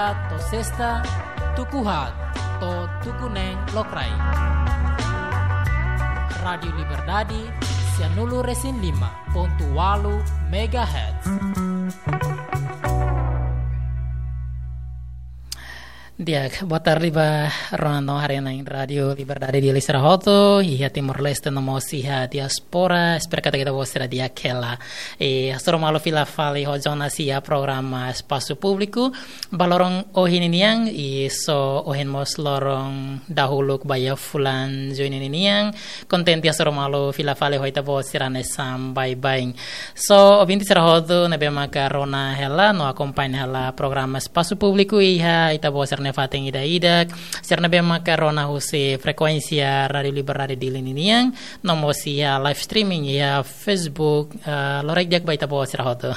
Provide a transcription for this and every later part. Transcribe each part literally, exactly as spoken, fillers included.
To'o sesta, tuku haat to'o tuku neen lokraik. Rádiu Liberdade, sianulu-resin-lima pontu ualu megahertz. Di'ak, boa tarde ba rona no haree-na'in Rádiu Liberdade Dili sira hotu, iha Timor-Leste no mós iha diáspora, espera katak ita-boot sira di'ak hela. I hasoru malu fila fali ho Jonas iha programa Espasu Públiku, ba loron ohin ninian, i só ohin mós loron dahuluk ba iha fulan Juni ninian, kontente hasoru malu fila fali ho ita-boot sira hanesan baibain. So, ouvinte sira hotu ne'ebé maka rona hela no akompaña hela programa Espasu Públiku iha ita-boot sira-nia fatin ida-idak, sira ne'ebé maka rona husi frekuénsia Rádiu Liberdade Dili ninian, no mós iha live streaming iha Facebook, ah, loraik di'ak ba ita-boot sira hotu.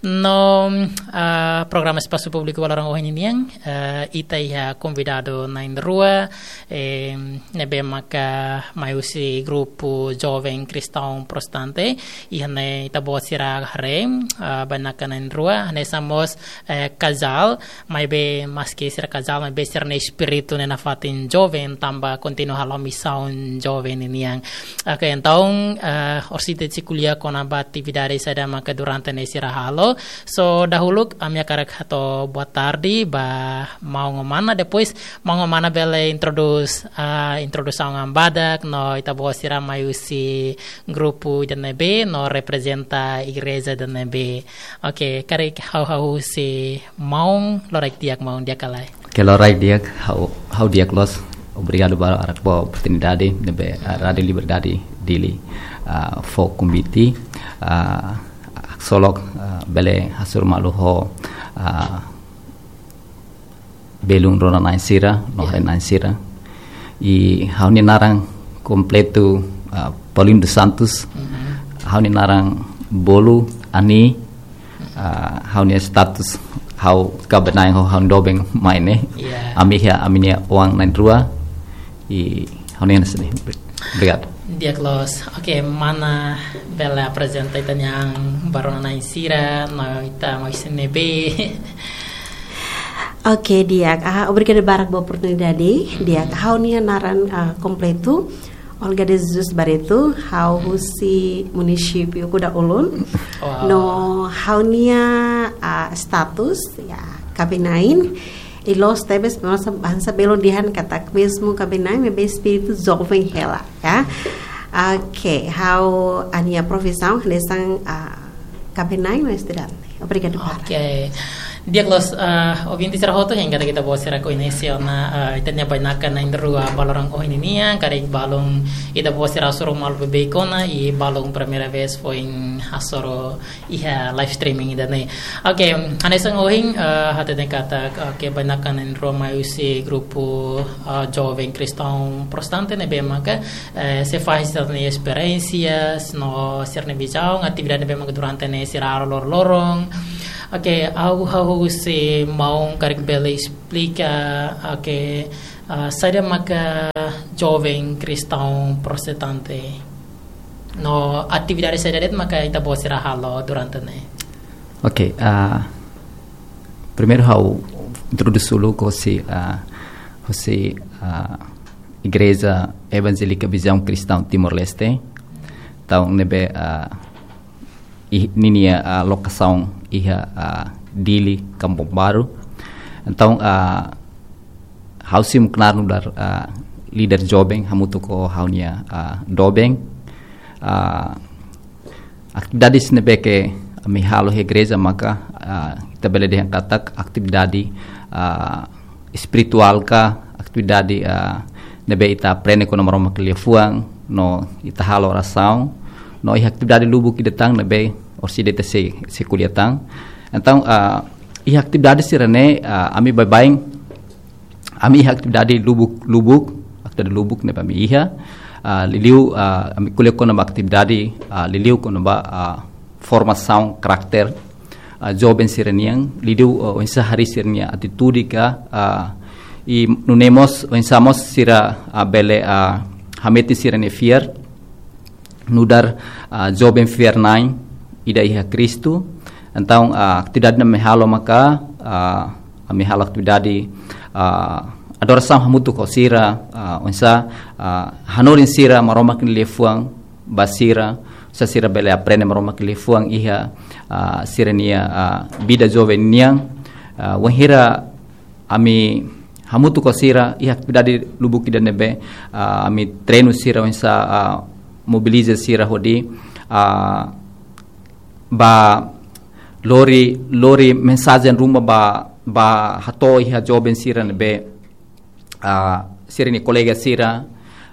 No, ah, programa Espasu Públiku ba loron ohin ninian, ah, ita iha konvidadu na'in-rua, eh, ne'ebé maka mai husi grupu Joven Kristaun Protestante, iha ne'e ita-boot sira haree, ah, bainaka na'in-rua, hanesan mós, eh, kazál, maibé maski sira kazál, maibé sira-nia espíritu ne'e nafatin joven, tanba kontinua halo misaun joven ninian. Oke, entaun, eh, orsida sei ko'alia kona-ba atividade saida maka durante ne'e sira halo. So, dahuluk, ami hakarak hato'o boa tarde ba maun ho mana, depois maun ho mana bele introdús, ah, introdusaun an badak, no ita-boot sira mai husi grupu ida ne'ebé, no reprezenta igreja ida ne'ebé. Oke, karik ha'u, ha'u husi maun, loraik di'ak maun, di'ak ka lae? Oke, loraik di'ak, ha'u, ha'u di'ak loos. Obrigadu barak ba oportunidade ne'ebé, ah, Rádiu Liberdade Dili, ah, fó konvite, ah, solok, ah, bele hasoru malu ho, ah, belun rona-na'in sira, no, ya, haree-na'in sira. I ha'u-nia naran kompletu, ah, Paulinho dos Santos. Mhm. Ha'u-nia naran bolu Ani, ah, ha'u-nia status, ha'u kaben-na'in ho ha'u-nia doben mai ne'e. Ya. Ami iha, ami-nia oan na'in-rua. I ha'u-nia hanesan ne'e. Obrigadu. Di'ak loos. Oke, mana bele aprezenta ita-nia an ba rona-na'in sira, no ita mai husi ne'ebé. Oke, di'ak. Ah, obrigadu barak ba oportunidade. Di'ak, ha'u-nia naran, ah, kompletu Olga de Jesus Barreto, ha'u husi munisípiu Kuda Ulun. Wow. No ha'u-nia, ah, status, ya, kaben-na'in. I loos tebes, hanesan, hanesan belun dehan katak mezmu kaben-na'in, maibé espíritu joven hela, ya. Oke, ha'u-nia profisaun hanesan, ah, kaben-na'in no estudante. Obrigadu barak. Oke. Di'ak loos, ah, ouvinte sira hotu, hein katak ita-boot sira koñese ona, ah, ita-nia bainaka na'in-rua ba loron ohin ninian, karik balun ita-boot sira hasoru malu beibeik ona, i balun primeira vez foin hasoru iha live streaming ida-ne'e. Oke, hanesan ohin, eh, hateten katak, oke, bainaka na'in-rua mai husi grupu, eh, Joven Kristaun Protestante ne'ebé maka, eh, sei fahe sira-nia esperiénsia, no sira-nia vizaun, atividade ne'ebé maka durante ne'e sira halo lor-loron. Oke, ha'u, ha'u husi maun karik bele esplika, oke, eh, saida maka Joven Kristaun Protestante. No atividade saida de'it maka ita-boot sira halo durante ne'e? Oke, ah, primeiru ha'u introdús uluk husi, ah, husi, ah, Igreja Evangélica Visão Cristã Timor-Leste. Entaun ne'ebé, ah, i-, ninia, ah, lokasaun iha, ah, Dili, Kampung Baru. Entaun, ah, ha'u simu knaar nu'udar, ah, líder joven, hamutuk ho ha'u-nia, ah, doben. Ah, atividade ne'ebé ke ami halo iha igreja maka, ah, ita bele dehan katak atividade, ah, espirituál ka, atividade, ah, ne'ebé ita aprende kona-ba Maromak nia liafuan, no ita halo orasaun, no iha atividade lubuk ida tan ne'ebé orsida ita sei, sei ko'alia tan. Entaun, ah, iha atividade sira-ne'e, ah, ami baibain, ami iha atividade lubuk, lubuk, atividade lubuk ne'ebé ami iha, ah, liuliu, ah, ami ko'alia kona-ba atividade, ah, liuliu kona-ba, ah, formasaun karakter, ah, joven sira-nian, liuliu, ah, oinsá harii sira-nia atitude ka, ah, i nune'e mós, oinsá mós sira, ah, bele, ah, hametin sira-nia fiar, nu'udar, ah, joven fiar-na'in ida iha Kristu. Entaun, ah, atividade ne'ebé ami halo maka, ah, Ami halo atividade, ah, adorasaun hamutuk ho sira, ah, oinsá, ah, hanorin sira Maromak nia liafuan ba sira, oinsá sira bele aprende Maromak nia liafuan iha, ah, sira-nia, ah, vida joven nian. Ah, wainhira ami hamutuk ho sira iha atividade lubuk ida ne'ebé, ah, ami treinu sira oinsá, ah, mobiliza sira hodi, ah, ba lori, lori mensajen ruma ba, ba hato'o iha joven sira ne'ebé, ah, sira-nia kolega sira,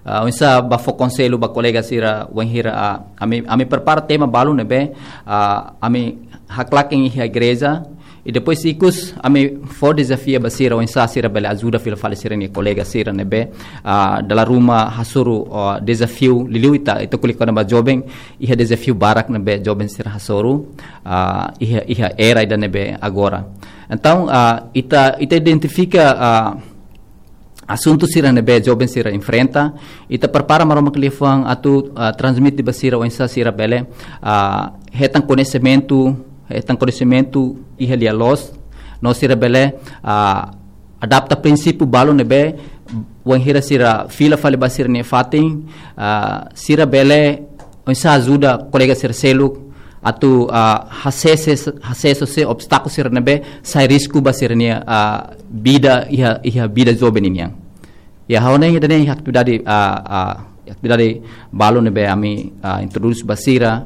ah, oinsá ba fó konsellu ba kolega sira, wainhira, ah, ami, ami prepara tema balu ne'ebé, ah, ami haklaken iha igreja, i depois ikus ami fó dezafia ba sira, oinsá sira bele ajuda fila fali sira-nia kolega sira ne'ebé, ah, dala ruma hasoru, ah, dezafiu liuliu ita, ita ko'alia kona-ba joven, iha dezafiu barak ne'ebé joven sira hasoru, ah, iha, iha era ida ne'ebé agora. Entaun, ah, ita, ita identifika, ah, asuntu sira ne'ebé joven sira enfrenta, ita prepara Maromak nia liafuan atu, ah, transmite ba sira oinsá sira bele, ah, hetan koñesimentu, hetan koñesimentu iha lia-loos, no sira bele, ah, adapta prinsípiu balu ne'ebé, wainhira sira fila fali ba sira-nia fatin, ah, sira bele oinsá ajuda kolega sira seluk atu, ah, hasesu, hasesu husi obstákulu sira ne'ebé sai risku ba sira-nia, ah, vida iha, iha vida joven nian. Ya, ha'u hanoin ida-ne'e iha atividade, ah, ah, atividade balu ne'ebé ami, ah, introdús ba sira.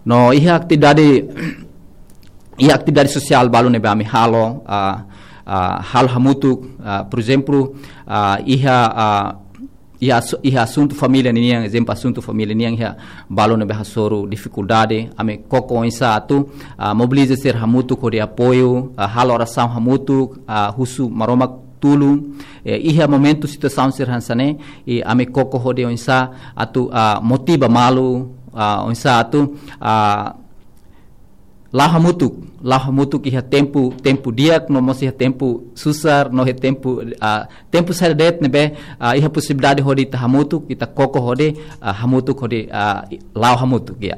No iha atividade, iha atividade sosiál balu ne'ebé ami halo, ah, ah, halo hamutuk, ah, por ezemplu, ah, iha, ah, iha asu-, iha asuntu família nian, ezemplu asuntu família nian iha balu ne'ebé hasoru difikuldade, ami koko oinsá atu, ah, mobiliza sira hamutuk hodi apoiu, ah, halo orasaun hamutuk, ah, husu Maromak tulun, eh, iha momentu situasaun sira hanesan ne'e, i ami koko hodi oinsá atu, ah, motiva malu, ah, oinsá atu, ah, la'o hamutuk, la'o hamutuk iha tempu, tempu di'ak, no mós iha tempu susar, no iha tempu, ah, tempu saida de'it ne'ebé, ah, iha posibilidade hodi ita hamutuk, ita koko hodi, ah, hamutuk hodi, ah, la'o hamutuk, ya.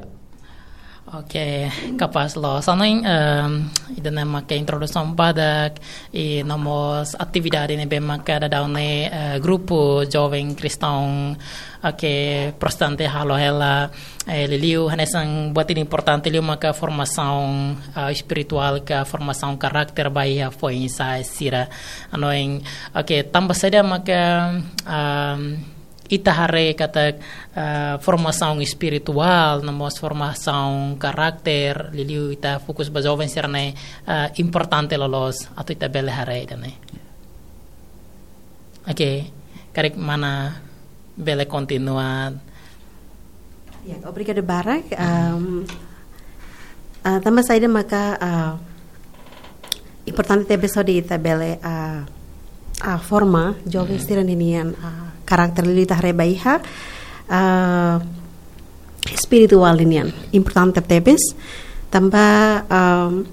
Oke, kapás loos. Ha'u hanoin, em, ida-ne'e maka introdusaun badak, i no mós atividade ne'ebé maka daudaun ne'e, eh, grupu joven kristaun, oke, protestante halo hela, eh, liuliu hanesan buat ida importante liu maka formasaun, ah, espirituál ka formasaun karakter ba iha foin-sa'e sira. Ha'u hanoin, oke, tanba saida maka, em, ita haree katak, eh, formasaun espirituál, no mós formasaun karakter, liuliu ita fokus ba joven sira-ne'e, eh, importante loloos, atu ita bele haree ida-ne'e. Oke, karik mana bele kontinua. Ya, obrigada barak. Em, ah, tanba saida maka, ah, importante tebes hodi ita bele, ah, ah, forma joven sira-nian, ah, karakter liuliu ita haree ba iha, ah, espirituál nian. Importante tebes. Tanba, em,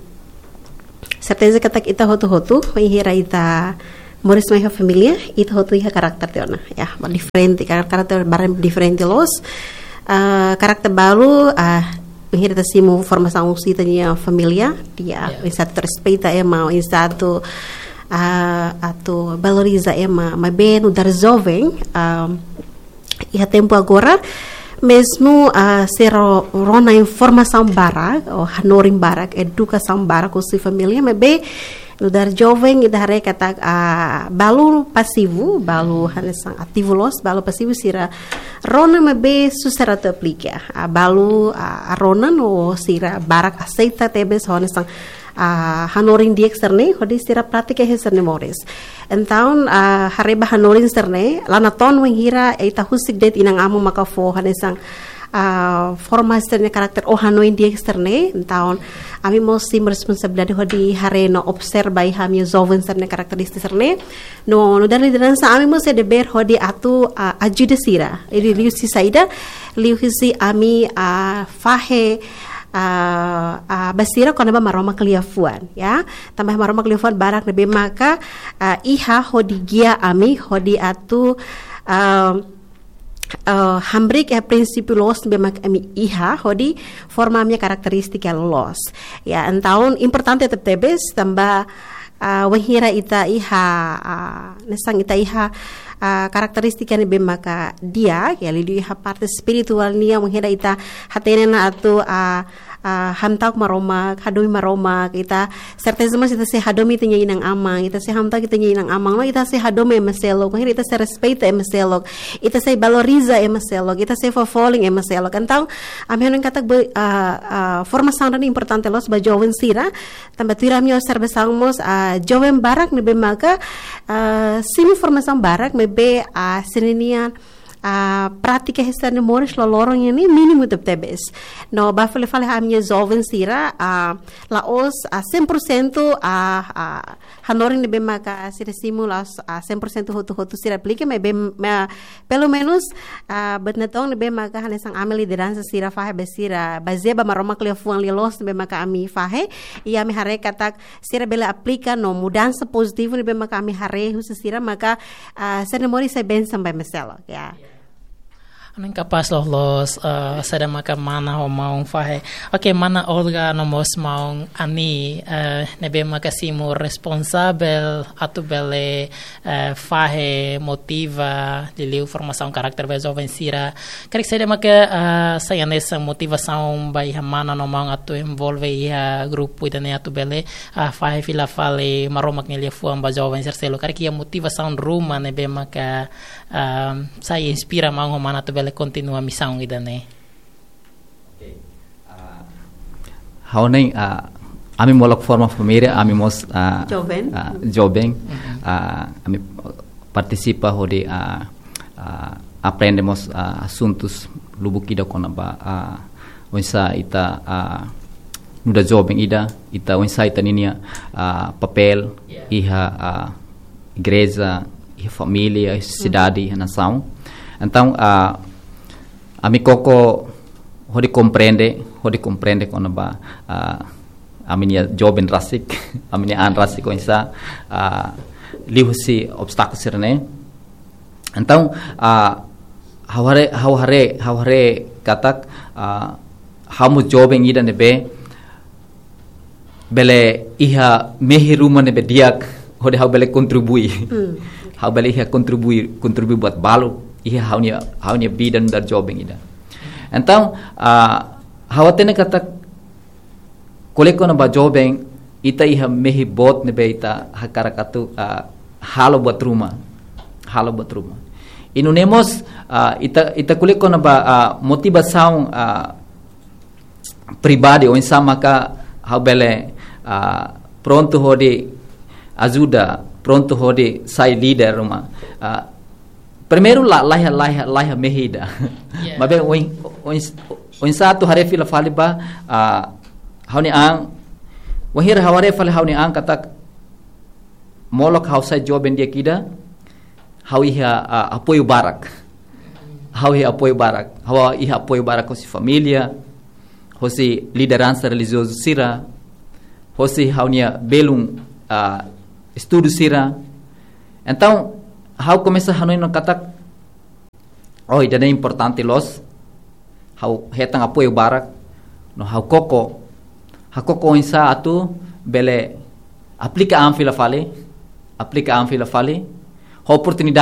serteza katak ita hotu-hotu, wainhira ita moris mai iha família, ita hotu iha karakter tiha ona. Ya, diferente, kar-, karakter barak diferente loos. Ah, karakter balu, ah, wainhira ita simu formasaun husi ita-nia família, ya, oinsá atu respeita ema, oinsá atu, ah, atu valoriza ema, maibé nu'udar joven, ah, iha tempu agora, mezmu, ah, sira rona informasaun barak, ou hanorin barak, edukasaun barak husi família, maibé nu'udar joven ita haree katak, ah, balu pasivu, balu hanesan ativu loos, balu pasivu sira rona maibé susar atu aplika. Ah, balu, ah, rona no sira barak aseita tebes hanesan, ah, hanorin di'ak sira-ne'e, hodi sira pratika iha sira-nia moris. Entaun, ah, haree ba hanorin sira-ne'e, la natoon wainhira ita husik de'it inan-aman maka fó hanesan, ah, forma sira-nia karakter ou hanoin di'ak sira-ne'e. Entaun, ami mós simu responsabilidade hodi haree no observa iha ami-nia joven sira-nia karakterístika sira-ne'e. No, nu'udar lideransa ami mós iha dever hodi atu, ah, ajuda sira. Liuhusi saida, liuhusi ami, ah, fahe, ah, ah, ba sira kona-ba Maromak nia liafuan, ya. Tanba Maromak nia liafuan barak ne'ebé maka, ah, iha hodi gia ami, hodi atu, ah, ah, hamriik iha prinsípiu loos ne'ebé maka ami iha, hodi forma ami-nia karakterístika loos. Ya, entaun importante tebetebes, tanba Ah, wainhira ita iha, ah, hanesan ita iha, ah, karakterístika ne'ebé maka di'ak, ya, liuliu iha parte espirituál nian, wainhira ita hatene ona atu, ah, ah, hamta'uk Maromak, hadomi Maromak, ita serteza mós ita sei hadomi ita-nia inan-aman, ita sei hamta'uk ita-nia inan-aman, no ita sei hadomi ema seluk, wainhira ita sei respeita ema seluk, ita sei valoriza ema seluk, ita sei fó folin ema seluk. Entaun, ami hanoin katak be, ah, ah, formasaun ne'e importante loos ba joven sira, tanba tuir ami-nia observasaun mós, ah, joven barak ne'ebé maka, ah, simu formasaun barak, maibé, ah, sira-nia, ah, prátika hanesan ne'e moris loroloron ne'e mínimu tebetebes. No ba fali-fali ami-nia joven sira, ah, la'ós, ah, cem por cento, ah, ah, hanorin ne'ebé maka sira simu la'ós, ah, cem por cento hotu-hotu sira aplika, maibé, ma-, pelumenus, ah, buat natoon ne'ebé maka hanesan ami lideransa sira fahe ba sira, bazeia ba Maromak nia liafuan lia-loos ne'ebé maka ami fahe, i ami haree katak sira bele aplika no mudansa pozitivu ne'ebé maka ami haree husi sira maka, ah, sira-nia moris sai bensaun ba ema seluk, ya. Hanoin kapás loos, eh, saida maka mana ho maun fahe. Oke, mana Olga no mós maun Ani, eh, ne'ebé maka simu responsavel atu bele, eh, fahe motiva, liuliu formasaun karakter ba joven sira. Karik saida maka, eh, sai hanesan motivasaun ba iha mana no maun atu envolve iha grupu ida-ne'e atu bele, eh, fahe fila fali Maromak nia liafuan ba joven sira seluk. Karik iha motivasaun ruma ne'ebé maka, ah, sai inspira maun ho mana atu bele kontinua misaun ida-ne'e. Oke. Ah, ha'u hanoin, ah, ami molok forma família, ami mós, ah, Joven. Ah, joven. Mhm. Ah, ami partisipa hodi, ah, ah, aprende mós, ah, asuntus lubuk ida kona-ba, ah, oinsá ita, ah, nu'udar joven ida, ita oinsá ita ninia, ah, papél, ya, iha, ah, igreja, iha família, iha, hmm, sosiedade, iha nasaun. Entaun, ah, ami koko hodi komprende, hodi komprende kona-ba, ah, ami-nia joven rasik, ami-nia an rasik oinsá, ah, liuhusi obstákulu sira-ne'e. Entaun, ah, ha'u haree, ha'u haree, ha'u haree katak, ah, ha'u mós joven ida ne'ebé bele iha mehi ruma ne'ebé di'ak, hodi ha'u bele kontribui. Hmm. Ha'u bele iha kontribui, kontribui buat balu iha ha'u-nia, ha'u-nia vida nu'udar joven ida. Entaun, ah, ha'u hatene katak ko'alia kona-ba joven, ita iha mehi boot ne'ebé ita hakarak atu, ah, halo buat ruma. Halo buat ruma. I nune'e mós, ah, ita, ita ko'alia kona-ba, ah, motivasaun, ah, pribadi, oinsá maka ha'u bele, ah, prontu hodi ajuda, prontu hodi sai líder ruma. Ah, primeiru la, laiha, laiha, laiha mehi ida. Ya. Maibé oin, oin, oinsá atu haree fila fali ba, ah, ha'u-nia an, wainhira ha'u haree fali ha'u-nia an katak molok ha'u sai joven di'ak ida, ha'u iha, ah, apoiu barak. Ha'u iha apoiu barak. Ha'u iha apoiu barak hosi família, hosi lideransa relijiozu sira, hosi ha'u-nia belun, ah, estudu sira. Entaun, ha'u komesa hanoin ona katak, oh, ida-ne'e importante loos. Ha'u hetan apoiu barak, no ha'u koko, ha'u koko oinsá atu bele aplika an fila fali, aplika an fila fali, ho oportunidade